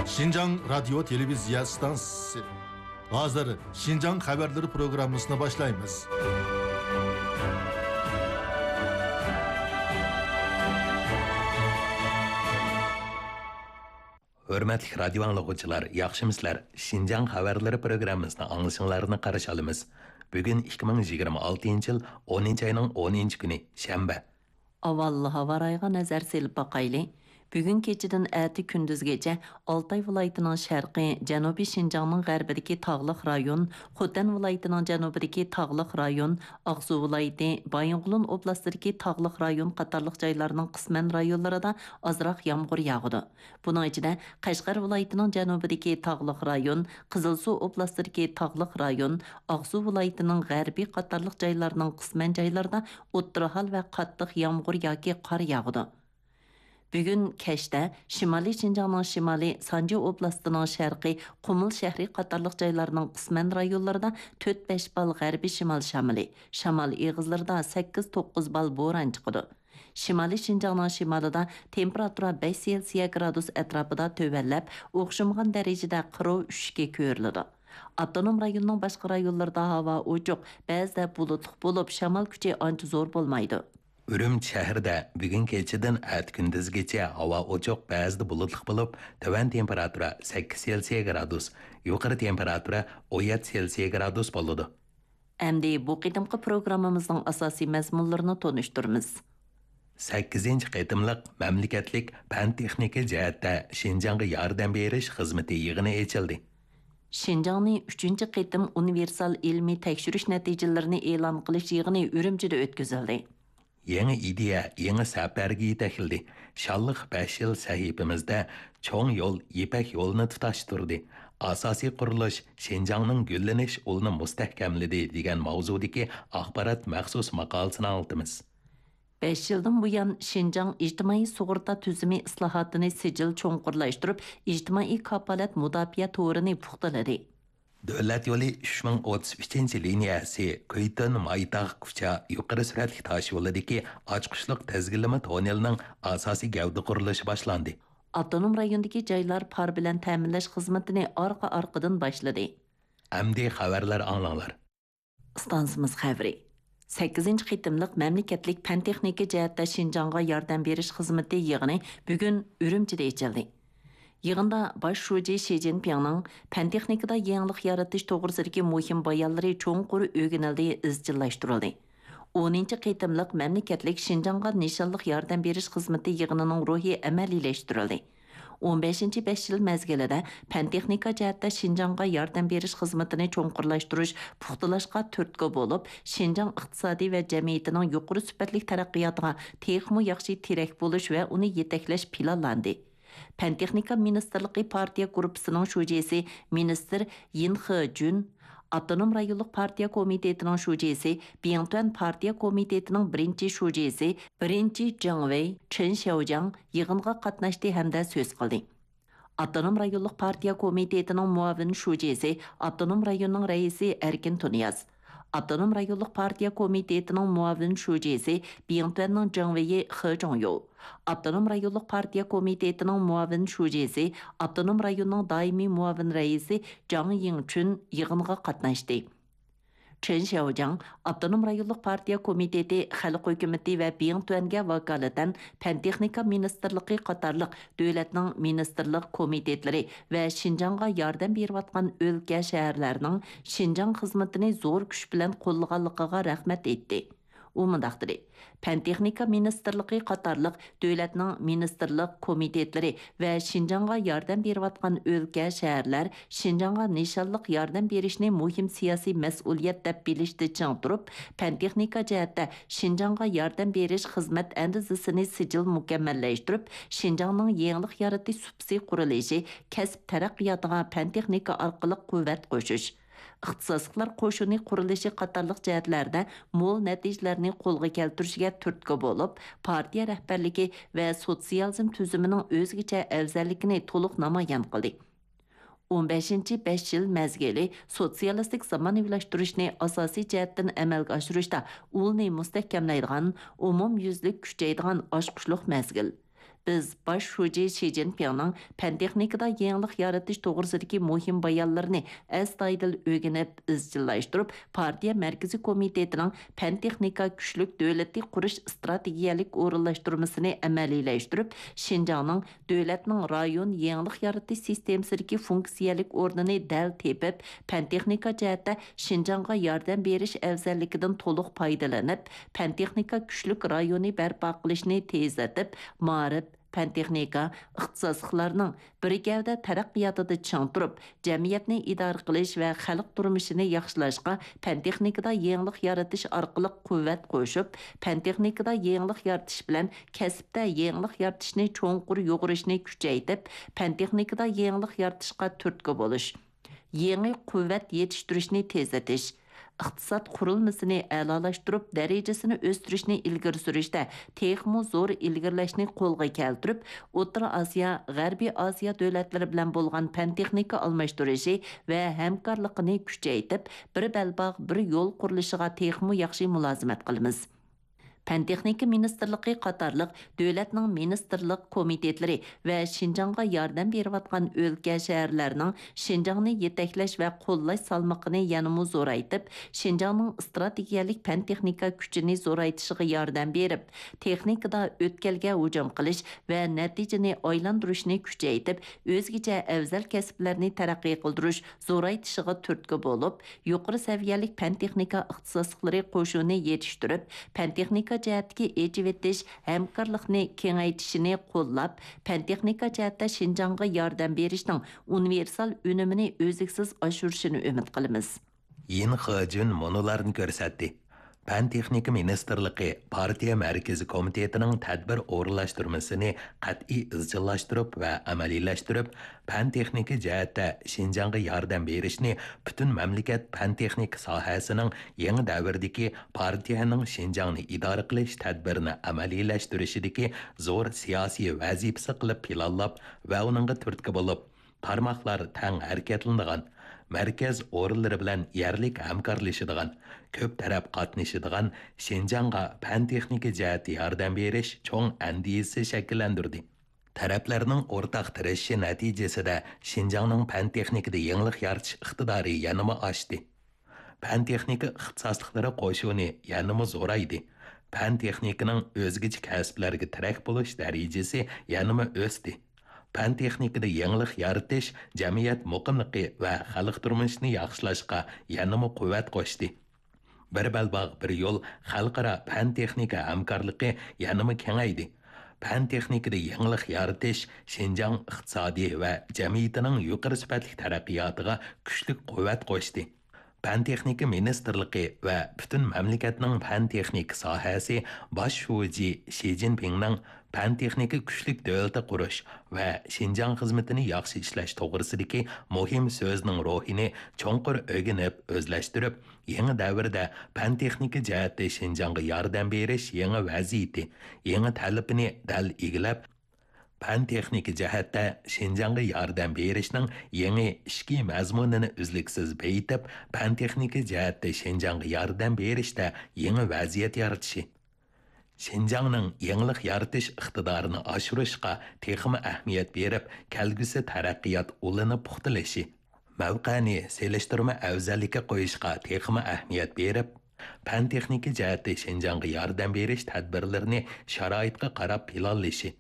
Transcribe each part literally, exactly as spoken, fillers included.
شىنجاڭ رادىيو تېلېۋىزىيە ئىستانسىسى. ھازىر شىنجاڭ خەۋەرلىرى پروگراممىسىنى باشلايمىز. ھۆرمەتلىك رادىيو ئاڭلىغۇچىلار، ياخشىمۇسىلەر؟ شىنجاڭ خەۋەرلىرى پروگراممىسىنى ئاڭلىشىڭلارنى قارشى ئالىمىز. بۈگۈن ئىككى مىڭ يىگىرمە ئالتىنچى يىل ئونىنچى ئاينىڭ ئونىنچى كۈنى، شەنبە. ئاۋۋال ھاۋا رايىغا نەزەر سېلىپ باقايلى. بۈگۈن كېچىدىن ئەتە كۈندۈزگىچە ئالتاي ۋىلايىتىنىڭ شەرقى، جەنۇبىي شىنجاڭنىڭ غەربىدىكى تاغلىق رايون، خوتەن ۋىلايىتىنىڭ جەنۇبىدىكى تاغلىق رايون، ئاقسۇ ۋىلايىتى، بايىنغولىن ئوبلاستىدىكى تاغلىق رايون قاتارلىق جايلارنىڭ قىسمەن رايونلىرىدا ئازراق يامغۇر ياغىدۇ. بۇنىڭ ئىچىدە، قەشقەر ۋىلايىتىنىڭ جەنۇبىدىكى تاغلىق رايون، قىزىلسۇ ئوبلاستىدىكى تاغلىق رايون، ئاقسۇ ۋىلايىتىنىڭ غەربى قاتارلىق جايلارنىڭ قىسمەن جايلىرىدا ئوتتۇرا ھال ۋە قاتتىق يامغۇر ياكى قار ياغىدۇ. بۈگۈن كەچتە شىمالىي شىنجاڭنىڭ شىمالى، سانجى ئوبلاستىنىڭ شەرقى، قۇمۇل شەھىرى قاتارلىق جايلارنىڭ قىسمەن رايونلىرىدا تۆت بەش بال غەربىي شىمال شامىلى، شامال ئېغىزلىرىدا سەككىز توققۇز بال بوران چىقىدۇ. شىمالىي شىنجاڭنىڭ شىمالىدا تېمپېراتۇرا بەش سېلسىيە گرادۇس ئەتراپىدا تۆۋەنلەپ، ئوخشىمىغان دەرىجىدە قىروۋ ئۈشۈشكە كۆرۈلىدۇ. ئاپتونوم رايوننىڭ باشقا رايونلىرىدا ھاۋا ئوچۇق، بەزىدە بۇلۇتلۇق بولۇپ، شامال كۈچى ئانچە زور بولمايدۇ. ئۈرۈمچى شەھىرىدە بۈگۈن كېچىدىن ئەتە كۈندۈزگىچە ھاۋا ئوچۇق، بەزىدە بۇلۇتلۇق بولۇپ، تۆۋەن تېمپېراتۇرا سەككىز سېلسىيە گرادۇس، يۇقىرى تېمپېراتۇرا ئون يەتتە سېلسىيە گرادۇس بولىدۇ. ئەمدى بۇ قېتىمقى پروگراممىمىزنىڭ ئاساسىي مەزمۇنلىرىنى تونۇشتۇرىمىز. سەككىزىنچى قېتىملىق مەملىكەتلىك پەن-تېخنىكا جەھەتتە شىنجاڭغا ياردەم بېرىش خىزمىتى يىغىنى ئېچىلدى. شىنجاڭنى ئۈچىنچى قېتىم ئۇنىۋېرسال ئىلمىي تەكشۈرۈش نەتىجىلىرىنى ئېلان قىلىش يىغىنى ئۈرۈمچىدە ئۆتكۈزۈلدى. يېڭى ئىدىيە يېڭى سەپەرگە يېتەكلىدى. شانلىق بەش يىل سەھىپىمىزدە چوڭ يول يىپەك يولىنى تۇتاشتۇردى. ئاساسىي قۇرۇلۇش شىنجاڭنىڭ گۈللىنىش ئۇلىنى مۇستەھكەملىدى دېگەن ماۋزۇدىكى ئاخبارات مەخسۇس ماقالىسىنى ئاڭلىتىمىز. بەش يىلدىن بۇيان، شىنجاڭ ئىجتىمائىي سۇغۇرتا تۈزۈمى ئىسلاھاتىنى سىجىل چوڭقۇرلاشتۇرۇپ، ئىجتىمائىي كاپالەت مۇداپىئە تورىنى پۇختىلىدى. دۆلەت يولى ئۈچ مىڭ ئوتتۇز ئۈچىنچى لىنىيەسى كۈيتۈن مايتاغ كۇچا يۇقىرى سۈرئەتلىك تاش يولىدىكى ئاچقۇچلۇق تىزگىنلىمە توننېلىنىڭ ئاساسىي گەۋدە قۇرۇلۇشى باشلاندى. ئاپتونوم رايوندىكى جايلار پار بىلەن تەمىنلەش خىزمىتىنى ئارقا-ئارقىدىن باشلىدى. ئەمدى خەۋەرلەر ئاڭلاڭلار. ئىستانسىمىز خەۋىرى. سەككىزىنچى قېتىملىق مەملىكەتلىك پەن-تېخنىكا جەھەتتە شىنجاڭغا ياردەم بېرىش خىزمىتى يىغىنى بۈگۈن ئۈرۈمچىدە ئېچىلدى. يىغىندا باش شۇجى شى جىنپىڭنىڭ پەن-تېخنىكىدا يېڭىلىق يارىتىش توغرىسىدىكى مۇھىم بايانلىرى چوڭقۇر ئۆگىنىلدى، ئىزچىللاشتۇرۇلدى. ئونىنچى قېتىملىق مەملىكەتلىك شىنجاڭغا نىشانلىق ياردەم بېرىش خىزمىتى يىغىنىنىڭ روھى ئەمەلىيلەشتۈرۈلدى. ئون بەشىنچى بەش يىل مەزگىلىدە پەن-تېخنىكا جەھەتتە شىنجاڭغا ياردەم بېرىش خىزمىتىنى چوڭقۇرلاشتۇرۇش، پۇختىلاشقا تۈرتكە بولۇپ، شىنجاڭ ئىقتىسادى ۋە جەمئىيىتىنىڭ يۇقىرى سۈپەتلىك تەرەققىياتىغا تېخىمۇ ياخشى تىرەك بولۇش ۋە ئۇنى يېتەكلەش پىلانلاندى. پەن-تېخنىكا مىنىستىرلىقى پارتىيە گۇرۇپپىسىنىڭ شۇجىسى مىنىستىر يىن خېجۈن، ئاپتونوم رايونلۇق پارتىيە كومىتېتىنىڭ شۇجىسى، بىڭتۈەن پارتىيە كومىتېتىنىڭ بىرىنچى شۇجىسى، بىرىنچى جېڭ ۋېي، چېن شياۋجياڭ يىغىنغا قاتناشتى ھەمدە سۆز قىلدى. ئاپتونوم رايونلۇق پارتىيە كومىتېتىنىڭ مۇئاۋىن شۇجىسى، ئاپتونوم رايوننىڭ رەئىسى ئەركىن تۇنىياز، ئاپتونوم رايونلۇق پارتىيە كومىتېتىنىڭ مۇئاۋىن شۇجىسى، بىڭتۈەننىڭ جېڭ ۋېيى خې جۇڭيۇ، ئاپتونوم رايونلۇق پارتىيە كومىتېتىنىڭ مۇئاۋىن شۇجىسى، ئاپتونوم رايوننىڭ دائىمىي مۇئاۋىن رەئىسى جاڭ يىڭچۈن يىغىنغا قاتناشتى. چېن شياۋجياڭ ئاپتونوم رايونلۇق پارتىيە كومىتېتى، خەلق ھۆكۈمىتى ۋە بىڭتۈەنگە ۋاكالىتەن پەن-تېخنىكا مىنىستىرلىقى قاتارلىق دۆلەتنىڭ مىنىستىرلىق كومىتېتلىرى ۋە شىنجاڭغا ياردەم بېرىۋاتقان ئۆلكە، شەھەرلەرنىڭ شىنجاڭ خىزمىتىنى زور كۈچ بىلەن قوللىغانلىقىغا رەھمەت ئېيتتى. ئۇ مۇنداق دېدى، پەن-تېخنىكا مىنىستىرلىقى قاتارلىق دۆلەتنىڭ مىنىستىرلىق كومىتېتلىرى ۋە شىنجاڭغا ياردەم بېرىۋاتقان ئۆلكە، شەھەرلەر شىنجاڭغا نىشانلىق ياردەم بېرىشنى مۇھىم سىياسىي مەسئۇلىيەت دەپ بىلىشتە چىڭ تۇرۇپ، پەن-تېخنىكا جەھەتتە شىنجاڭغا ياردەم بېرىش خىزمەت ئەندىزىسىنى سىجىل مۇكەممەللەشتۈرۈپ، شىنجاڭنىڭ يېڭىلىق يارىتىش سۇپىسى قۇرۇلۇشى، كەسىپ تەرەققىياتىغا پەن-تېخنىكا ئارقىلىق قۇۋۋەت قوشۇش، ئىختىساسلىقلار قوشۇنى قۇرۇلۇشى قاتارلىق جەھەتلەردە مول نەتىجىلەرنى قولغا كەلتۈرۈشىگە تۈرتكە بولۇپ، پارتىيە رەھبەرلىكى ۋە سوتسىيالىزم تۈزۈمىنىڭ ئۆزگىچە ئەۋزەللىكىنى تولۇق نامايان قىلدى. ئون بەشىنچى بەش يىل مەزگىلى سوتسىيالىستىك زامانىۋىلاشتۇرۇشنى ئاساسىي جەھەتتىن ئەمەلگە ئاشۇرۇشتا ئۇلنى مۇستەھكەملەيدىغان، ئومۇميۈزلۈك كۈچەيدىغان ئاچقۇچلۇق مەزگىل. بىز باش شۇجى شى جىنپىڭنىڭ پەن-تېخنىكىدا يېڭىلىق يارىتىش توغرىسىدىكى مۇھىم بايانلىرىنى ئەستايىدىل ئۆگىنىپ، ئىزچىللاشتۇرۇپ، پارتىيە مەركىزىي كومىتېتىنىڭ پەن-تېخنىكا كۈچلۈك دۆلىتى قۇرۇش ئىستراتېگىيەلىك ئورۇنلاشتۇرمىسىنى ئەمەلىيلەشتۈرۈپ، شىنجاڭنىڭ دۆلەتنىڭ رايون يېڭىلىق يارىتىش سىستېمىسىدىكى فۇنكسىيەلىك ئورنىنى دەل تېپىپ، پەن-تېخنىكا جەھەتتە شىنجاڭغا ياردەم بېرىش ئەۋزەللىكىدىن تولۇق پايدىلىنىپ، پەن-تېخنىكا كۈچلۈك رايونى بەرپا قىلىشنى تېزلىتىپ، مائارىپ، پەن-تېخنىكا، ئىختىساسلىقلارنىڭ بىر گەۋدە تەرەققىياتىدا چىڭ تۇرۇپ، جەمئىيەتنى ئىدارە قىلىش ۋە خەلق تۇرمۇشىنى ياخشىلاشقا، پەن-تېخنىكىدا يېڭىلىق يارىتىش ئارقىلىق قۇۋۋەت قوشۇپ، پەن-تېخنىكىدا يېڭىلىق يارىتىش بىلەن كەسىپتە يېڭىلىق يارىتىشنى چوڭقۇر يۇغۇرۇشنى كۈچەيتىپ، پەن-تېخنىكىدا يېڭىلىق يارىتىشقا تۈرتكە بولۇش، يېڭى قۇۋۋەت يېتىشتۈرۈشنى تېزلىتىش، ئىقتىساد قۇرۇلمىسىنى ئەلالاشتۇرۇپ، دەرىجىسىنى ئۆستۈرۈشنى ئىلگىرى سۈرۈشتە تېخىمۇ زور ئىلگىرىلەشنى قولغا كەلتۈرۈپ، ئوتتۇرا ئاسىيا، غەربىي ئاسىيا دۆلەتلىرى بىلەن بولغان پەن-تېخنىكا ئالماشتۇرۇشى ۋە ھەمكارلىقىنى كۈچەيتىپ، بىر بەلباغ، بىر يول قۇرۇلۇشىغا تېخىمۇ ياخشى مۇلازىمەت قىلىمىز. پەن-تېخنىكا مىنىستىرلىقى قاتارلىق دۆلەتنىڭ مىنىستىرلىق كومىتېتلىرى ۋە شىنجاڭغا ياردەم بېرىۋاتقان ئۆلكە، شەھەرلەرنىڭ شىنجاڭنى يېتەكلەش ۋە قوللاش سالمىقىنى يەنىمۇ زورايتىپ، شىنجاڭنىڭ ئىستراتېگىيەلىك پەن-تېخنىكا كۈچىنى زورايتىشىغا ياردەم بېرىپ، تېخنىكىدا ئۆتكەلگە ھۇجۇم قىلىش ۋە نەتىجىنى ئايلاندۇرۇشنى كۈچەيتىپ، ئۆزگىچە ئەۋزەل كەسىپلەرنى تەرەققىي قىلدۇرۇش، زورايتىشىغا تۈرتكە بولۇپ، يۇقىرى سەۋىيەلىك پەن-تېخنىكا ئىختىساسلىقلىرى قوشۇنى يېتىشتۈرۈپ، پەن-تېخنىكا جەھەتتىكى ئېچىۋېتىش ھەمكارلىقنى كېڭەيتىشىنى قوللاپ، پەن-تېخنىكا جەھەتتە شىنجاڭغا ياردەم بېرىشنىڭ ئۇنىۋېرسال ئۈنۈمىنى ئۈزلۈكسىز ئاشۇرۇشىنى ئۈمىد قىلىمىز. يىن خېجۈن مۇنۇلارنى كۆرسەتتى. پەن-تېخنىكا مىنىستىرلىقى پارتىيە مەركىزىي كومىتېتىنىڭ تەدبىر ئورۇنلاشتۇرمىسىنى قەتئىي ئىزچىللاشتۇرۇپ ۋە ئەمەلىيلەشتۈرۈپ، پەن-تېخنىكا جەھەتتە شىنجاڭغا ياردەم بېرىشنى پۈتۈن مەملىكەت پەن-تېخنىكا ساھەسىنىڭ يېڭى دەۋردىكى پارتىيەنىڭ شىنجاڭنى ئىدارە قىلىش تەدبىرىنى ئەمەلىيلەشتۈرۈشىدىكى زور سىياسىي ۋەزىپىسى قىلىپ پىلانلاپ ۋە ئۇنىڭغا تۈرتكە بولۇپ، تارماقلار تەڭ ھەرىكەتلىنىدىغان، مەركەز ئورۇنلىرى بىلەن يەرلىك ھەمكارلىشىدىغان، كۆپ تەرەپ قاتنىشىدىغان شىنجاڭغا پەن-تېخنىكا جەھەتتە ياردەم بېرىش چوڭ ئەندىزىسى شەكىللەندۈردى. تەرەپلەرنىڭ ئورتاق تىرىشىشى نەتىجىسىدە شىنجاڭنىڭ پەن-تېخنىكىدا يېڭىلىق يارىتىش ئىقتىدارى يەنىمۇ ئاشتى. پەن-تېخنىكا ئىختىساسلىقلىرى قوشۇنى يەنىمۇ زورايدى. پەن-تېخنىكىنىڭ ئۆزگىچە كەسىپلەرگە تىرەك بولۇش دەرىجىسى يەنىمۇ ئۆستى. پەن-تېخنىكىدا يېڭىلىق يارىتىش جەمئىيەت مۇقىملىقى ۋە خەلق تۇرمۇشىنى ياخشىلاشقا يەنىمۇ قۇۋۋەت قوشتى. بىر بەلباغ، بىر يول خەلقئارا پەن-تېخنىكا ھەمكارلىقى يەنىمۇ كېڭەيدى. پەن-تېخنىكىدا يېڭىلىق يارىتىش شىنجاڭ ئىقتىسادى ۋە جەمئىيىتىنىڭ يۇقىرى سۈپەتلىك تەرەققىياتىغا كۈچلۈك قۇۋۋەت قوشتى. پەن-تېخنىكا مىنىستىرلىقى ۋە پۈتۈن مەملىكەتنىڭ پەن-تېخنىكا ساھەسى باش شۇجى شى جىنپىڭنىڭ پەن-تېخنىكا كۈچلۈك دۆلىتى قۇرۇش ۋە شىنجاڭ خىزمىتىنى ياخشى ئىشلەش توغرىسىدىكى مۇھىم سۆزىنىڭ روھىنى چوڭقۇر ئۆگىنىپ، ئۆزلەشتۈرۈپ، يېڭى دەۋردە پەن-تېخنىكا جەھەتتە شىنجاڭغا ياردەم بېرىش يېڭى ۋەزىيىتى، يېڭى تەلىپىنى دەل ئىگىلەپ، پەن-تېخنىكا جەھەتتە شىنجاڭغا ياردەم بېرىشنىڭ يېڭى ئىچكى مەزمۇنىنى ئۈزلۈكسىز بېيىتىپ، پەن-تېخنىكا جەھەتتە شىنجاڭغا ياردەم بېرىشتە يېڭى ۋەزىيەت يارىتىشى، شىنجاڭنىڭ يېڭىلىق يارىتىش ئىقتىدارىنى ئاشۇرۇشقا تېخىمۇ ئەھمىيەت بېرىپ، كەلگۈسى تەرەققىيات ئۇلىنى پۇختىلىشى، مەۋقەنى سېلىشتۇرما ئەۋزەللىككە قويۇشقا تېخىمۇ ئەھمىيەت بېرىپ، پەن-تېخنىكا جەھەتتە شىنجاڭغا ياردەم بېرىش تەدبىرلىرىنى شارائىتقا قاراپ پىلانلىشى،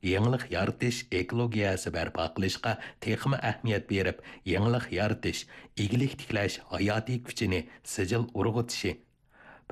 يېڭىلىق يارىتىش ئېكولوگىيەسى بەرپا قىلىشقا تېخىمۇ ئەھمىيەت بېرىپ، يېڭىلىق يارىتىش، ئىگىلىك تىكلەش ھاياتىي كۈچىنى سىجىل ئۇرغۇتۇشى،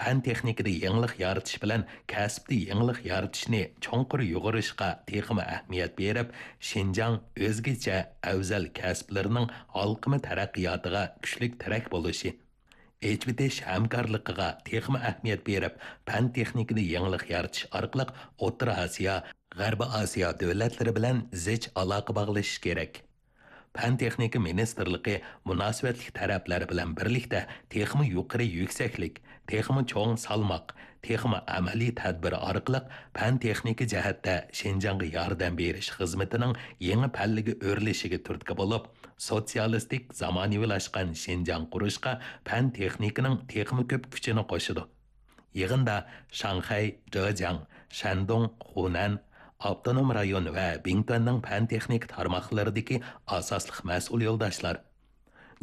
پەن-تېخنىكىدا يېڭىلىق يارىتىش بىلەن كەسىپتە يېڭىلىق يارىتىشنى چوڭقۇر يۇغۇرۇشقا تېخىمۇ ئەھمىيەت بېرىپ، شىنجاڭ ئۆزگىچە ئەۋزەل كەسىپلىرىنىڭ ھالقىما تەرەققىياتىغا كۈچلۈك تىرەك بولۇشى، ئېچىۋېتىش ھەمكارلىقىغا تېخىمۇ ئەھمىيەت بېرىپ، پەن-تېخنىكىدا يېڭىلىق يارىتىش ئارقىلىق ئوتتۇرا ئاسىيا، غەربىي ئاسىيا دۆلەتلىرى بىلەن زىچ ئالاقە باغلىشىش كېرەك. پەن-تېخنىكا مىنىستىرلىقى مۇناسىۋەتلىك تەرەپلەر بىلەن بىرلىكتە تېخىمۇ يۇقىرى يۈكسەكلىك، تېخىمۇ چوڭ سالماق، تېخىمۇ ئەمەلىي تەدبىر ئارقىلىق پەن-تېخنىكا جەھەتتە شىنجاڭغا ياردەم بېرىش خىزمىتىنىڭ يېڭى پەللىگە ئۆرلىشىگە تۈرتكە بولۇپ، سوتسىيالىستىك زامانىۋىلاشقان شىنجاڭ قۇرۇشقا پەن-تېخنىكىنىڭ تېخىمۇ كۆپ كۈچىنى قوشىدۇ. يىغىندا شاڭخەي، جېجياڭ، شەندۇڭ، خۇنەن، ئاپتونوم رايون ۋە بىڭتۈەننىڭ پەن-تېخنىكا تارماقلىرىدىكى ئاساسلىق مەسئۇل يولداشلار،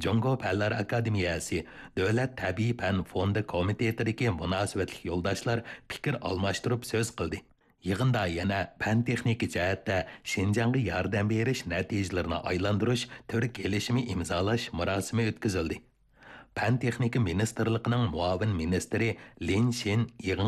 جۇڭگو پەنلەر ئاكادېمىيەسى دۆلەت تەبىئىي پەن فوندى كومىتېتىدىكى مۇناسىۋەتلىك يولداشلار پىكىر ئالماشتۇرۇپ سۆز قىلدى. يىغىندا يەنە پەن-تېخنىكا جەھەتتە شىنجاڭغا ياردەم بېرىش نەتىجىلىرىنى ئايلاندۇرۇش تۈر كېلىشىمى ئىمزالاش مۇراسىمى ئۆتكۈزۈلدى. پەن-تېخنىكا مىنىستىرلىقىنىڭ مۇئاۋىن مىنىستىرى لىن شىن يىغىنغا